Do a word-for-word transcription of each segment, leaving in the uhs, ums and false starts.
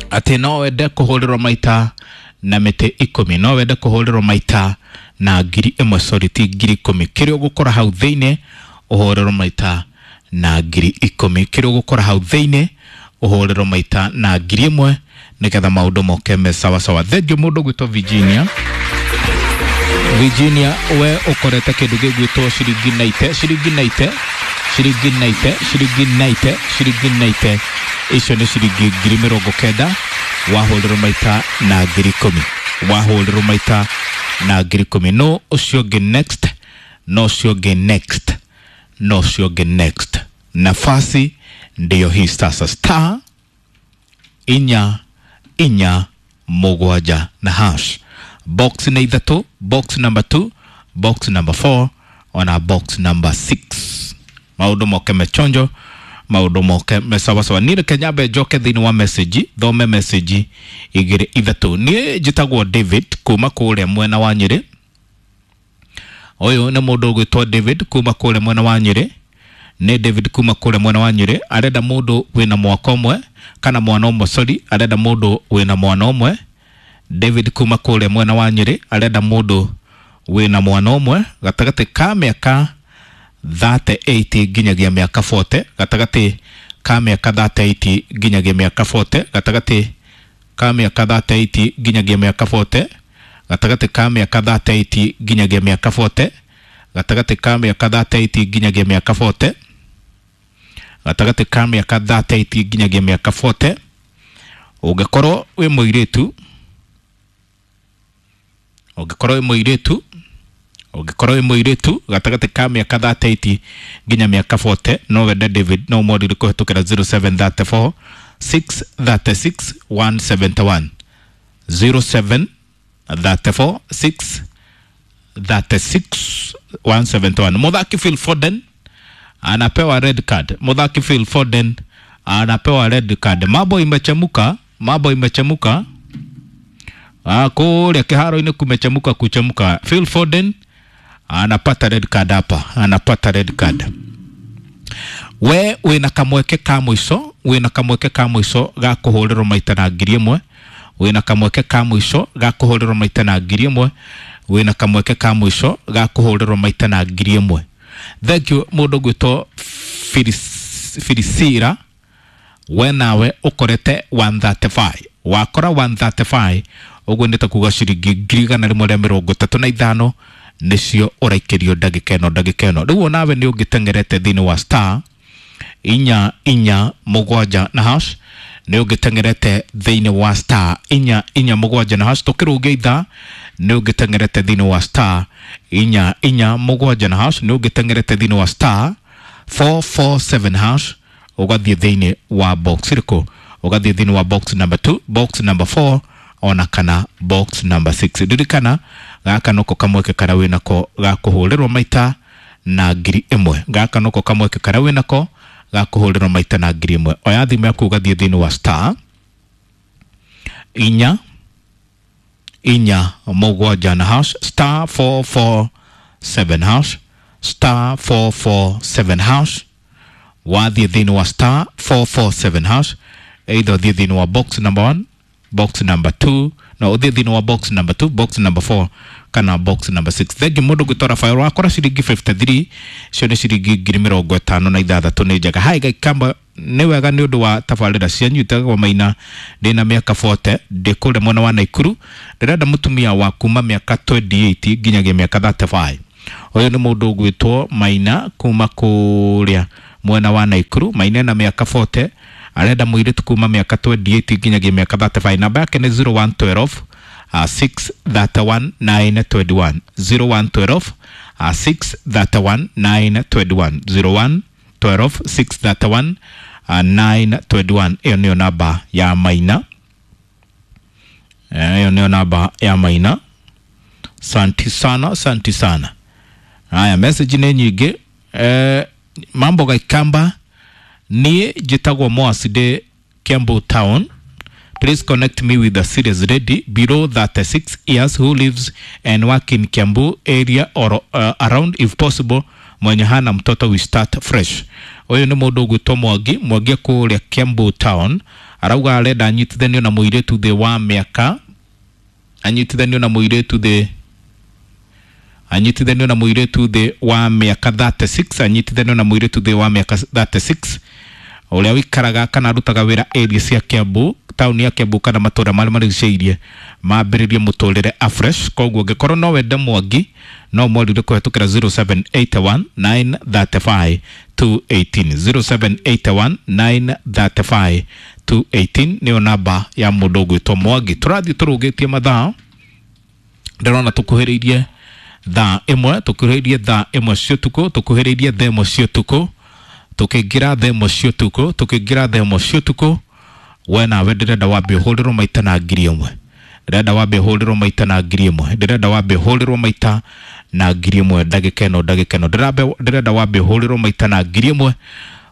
Atĩ no wende kũhũrĩrwo maita na mĩtĩ ikũmi, no wende kũhũrĩrwo maita na ngiri ĩmwe, sorry, ti ngiri ikũmi. Kĩrĩa ũgũkora hau thĩinĩ ũhũrĩrwo maita na ngiri ikũmi, kĩrĩa ũgũkora hau thĩinĩ ũhũrĩrwo maita na ngiri ĩmwe, nĩgetha maũndũ moke me sawasawa. Thengiũ mũndũ gwĩtwo Virginia. Virginia, we ũkorete kĩndũ gĩgwĩtwo ciringi naite, ciringi naite, ciringi naite, ciringi naite, ciringi naite. Icio nĩ ciringi ngiri mĩrongo kenda wahũrĩrwo maita na ngiri ikũmi, wahũrĩrwo maita na ngiri ikũmi. No ũcio ũngĩ next, no ũcio ũngĩ next, no ũcio ũngĩ next. Nafasi ndiyo hii sasa, star inya inya mũgwanja na hash. Box nĩ ithatũ, box number two, box number four ona box number six. Maũndũ moke mechonjo, maũndũ moke mesawasawa. Niĩ reke nyambe njoke thĩinĩ wa message, thome message igĩrĩ ithatũ. Niĩ njĩtagwo David kuma kũrĩa mwena wa Nyĩrĩ. Ũyũ nĩ mũndũ ũgwĩtwo David kuma kũrĩa mwena wa Nyĩrĩ. Nĩ David kuma kũrĩa mwena wa Nyĩrĩ, arenda mũndũ wĩna mwaka ũmwe kana mwana ũmwe, sorry, arenda mũndũ wĩna mwana ũmwe. David kuma kũrĩa mwena wa Nyĩrĩ arenda mũndũ wĩna mwana ũmwe gatagatĩ ka mĩaka thirty-eight nginyagia mĩaka forty, gatagatĩ ka mĩaka thirty-eight nginyagia mĩaka forty, gatagatĩ ka mĩaka thirty-eight nginyagia mĩaka forty, gatagatĩ ka mĩaka thirty-eight nginyagia mĩaka forty, gatagatĩ ka mĩaka thirty-eight nginyagia mĩaka forty, gatagatĩ ka mĩaka thirty-eight nginyagia mĩaka forty. Ũngĩkorwo wĩ mũirĩtu, ũngĩkorwo wĩ mũirĩtu, ũngĩkorwo wĩ mũirĩtu gatagatĩ ka mĩaka thirty-eight nginya mĩaka forty, no wende David, no ũmorire kũhetũkĩra zero seven thirty four six thirty six one seventy one, zero seven thirty four six thirty six one seventy one. Mũthaki Phil Foden anapewa red card. Mũthaki Phil Foden anapewa red card. Mambo imechemuka, mambo imechemuka. Ah, kũrĩa kĩharo-inĩ kumechemuka kuchemuka. Phil Foden anapata red card hapa, anapata red card. We wĩna kamweke ka mũico, wĩna kamweke ka mũico ga kũhũrĩrwo maita na ngiri ĩmwe, wĩna kamweke ka mũico ga kũhũrĩrwo maita na ngiri ĩmwe, wĩna kamweke ka mũico ga kũhũrĩrwo maita na ngiri ĩmwe. Thank you mũndũ gwĩtwo Filisira, we nawe ũkorete one thirty-five, wakora one thirty-five ũguo nĩ ta kuga ciringi ngiri igana rĩmwe rĩa mĩrongo ĩtatũ na ithano nĩcio ũraikĩrio ndagĩka ĩno, ndagĩka ĩno. Rĩu onawe nĩ ũngĩteng'erete thĩinĩ wa star inya inya mũgwanja na hash, nĩ ũngĩteng'erete thĩinĩ wa star inya inya mũgwanja na hash, tũkĩrũngia ithaa nĩ ũngĩteng'erete thĩinĩ wa star inya inya mũgwanja na hash, nĩ ũngĩteng'erete thĩinĩ wa star four four seven hash, ũgathiĩ thĩinĩ wa box ĩrĩkũ? Ũgathiĩ thĩinĩ wa box number two, box number four ona kana box number six. Ririkana gaka noko kamweke karĩa wĩnako ga kũhũrĩrwo maita na ngiri ĩmwe, gaka noko kamweke karĩa wĩnako ga kũhũrĩrwo maita na ngiri ĩmwe. Oya thimũ yaku ũgathiĩ thĩinĩ wa star inya inya mũgwanja na hash, star four four seven hash, star four four seven hash. Wathiĩ thĩinĩ wa star four four seven hash, either ũthiĩ thĩinĩ wa box number one, box number two, no ũthiĩ thĩinĩ wa box number two, box number four kana box number six. Thengi mũndũ gwĩtwo Rafael, wakora ciringi fifty-three, icio nĩ ciringi ngiri mĩrongo ĩtano na ithathatũ nĩ njega. Hai Gaikamba, nĩ wega nĩ ũndũ wa tabarĩra cianyu. Itagwo Maina, ndĩna mĩaka forty, ndĩ kũrĩa mwena wa Naikuru, ndĩrenda mũtumia wa kuma mĩaka twenty-eight nginyagia mĩaka thirty-five. Ũyũ nĩ mũndũ ũgwĩtwo Maina kuma kũrĩa mwena wa Naikuru. Maina ena mĩaka forty, arenda mũirĩtu kuma mĩaka twenty-eight nginyagia mĩaka thirty-five. Namba yake nĩ zero one twelve, uh, six thirty-one nine twenty-one, zero one twelve, uh, six thirty-one nine twenty-one, zero one twelve six thirty-one, uh, nine twenty-one. Ĩyo nĩyo namba ya Maina. Ĩyo nĩyo namba ya Maina. Santi sana, santi sana. Haya, message nĩ nyingĩ. Eh, mambo Gaikamba, niĩ njĩtagwo Moasi ndĩ Kiambu town. Please connect me with a serious lady below thirty-six years who lives and work in Kiambu area or, uh, around if possible, mwenye hana mtoto, we start fresh. Ũyũ nĩ mũndũ ũgwĩtwo Mwangi, Mwangi kũrĩa Kiambu town, Arauga arenda anyitithanio na mũirĩtu thĩ wa mĩaka, anyitithanio na mũirĩtu thĩ, anyitithanio na mũirĩtu thĩ wa mĩaka thirty-six, anyitithanio na mũirĩtu thĩ wa mĩaka thirty-six ũrĩa wĩikaraga kana arutaga wĩra area cia Kiambu, taũni ya Kiambu kana matũra marĩa marigicĩirie, mambĩrĩrie mũtũrĩre afresh. Koguo ũngĩkorwo no wende Mwangi no mwarire kũhetũkĩra zero seven eight one nine thirty five two eighteen, zero seven eight one nine thirty five two eighteen nĩyo namba ya mũndũ ũgwĩtwo Mwangi. Tũrathiĩ tũrũgĩtie mathaa, ndĩrona tũkuhĩrĩirie thaa ĩmwe, tũkuhĩrĩirie thaa ĩmwe cia ũtukũ, tũkuhĩrĩirie thaa ĩmwe cia ũtukũ, tũkĩingĩra thaa ĩmwe cia ũtukũ, tũkĩingĩra thaa ĩmwe cia ũtukũ. We nawe ndĩrenda wambe ũhũrĩrwo maita na ngiri ĩmwe, ndĩrenda wambe ũhũrĩrwo maita na ngiri ĩmwe, ndĩrenda wambe ũhũrĩrwo maita na ngiri ĩmwe ndagĩka ĩno, ndagĩka ĩno ndĩrenda wambe ũhũrĩrwo maita na ngiri ĩmwe,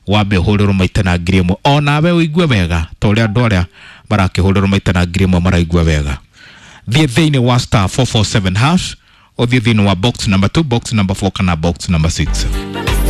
wambe ũhũrĩrwo maita na ngiri ĩmwe, o nawe ũigue wega ta ũrĩa andũ arĩa marakĩhũrĩrwo maita na ngiri ĩmwe maraigua wega. Thiĩ thĩinĩ wa star four four seven hash, ũthiĩ thĩinĩ wa box number two, box number four kana box number six.